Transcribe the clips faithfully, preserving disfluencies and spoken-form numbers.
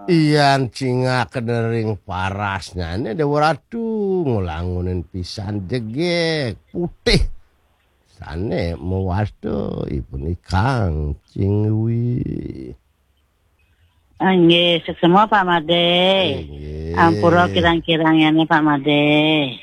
Iyan cingak nering parasnyane Dewa Ratu, ngulangunin pisan jegeg putih. Sane mewasta ipun ikang cingwi. Nggih, suksma Pak Made. Nggih. Ampura kirang-kirang yane Pak Made.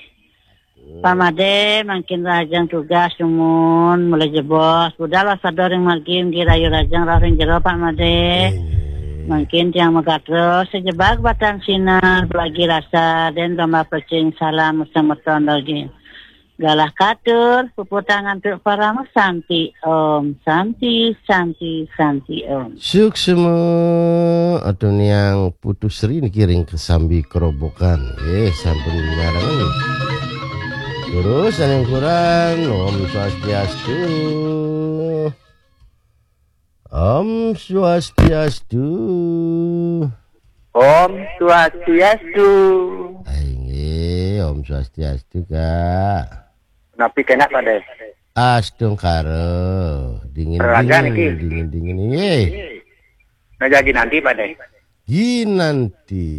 Pak Made, mangkin rahajeng tugas dumun, mulai jebos, budal wasada ring margi, nggih rayu rahajeng rauh ring jero Pak Made. Nggih. Mangkin tiang magatra, sajebag batang sinar, belagi rasa, den domba pecing, salam semeton daging. Galah katur, puputang antuk parama santi. Om Santi, Santi, Santi Om. Suksma, atuniang Putu Sri niki ring kesambi kerobokan. Eh, sampun nyarengan. Terus, saning kurang, Om Swastiastu. Om Swastiastu. Om Swastiastu. Ai, nggih, Om Swastiastu, Kak. Napi kenak, Pak De? Astungkara, dingin, Raga dingin, niki. Dingin, dingin, nggih. Nah, jagi nanti, Pak De. Ginanti.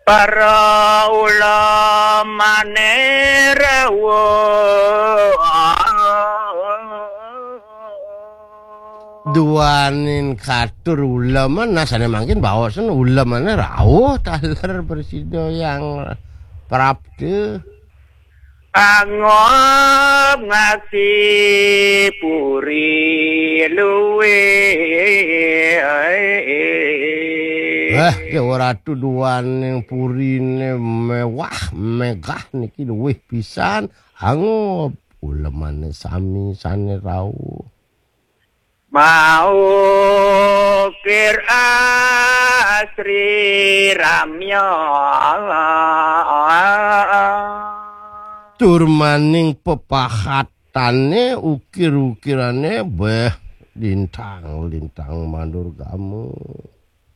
Para ulamane rawuh. Duaning katur uleman, nah, sane mangkin baosen ulemane rawuh taler prasida yang prapta. Angob ngaksi puri luwih. Wah, Dewa Ratu duaning purine mewah, megah niki luwih pisan. Angob ulemane sami sane rauh. Maukir asri ramya. Tur maning pepahatane ukir-ukirane beh lintang-lintang mandur gamu.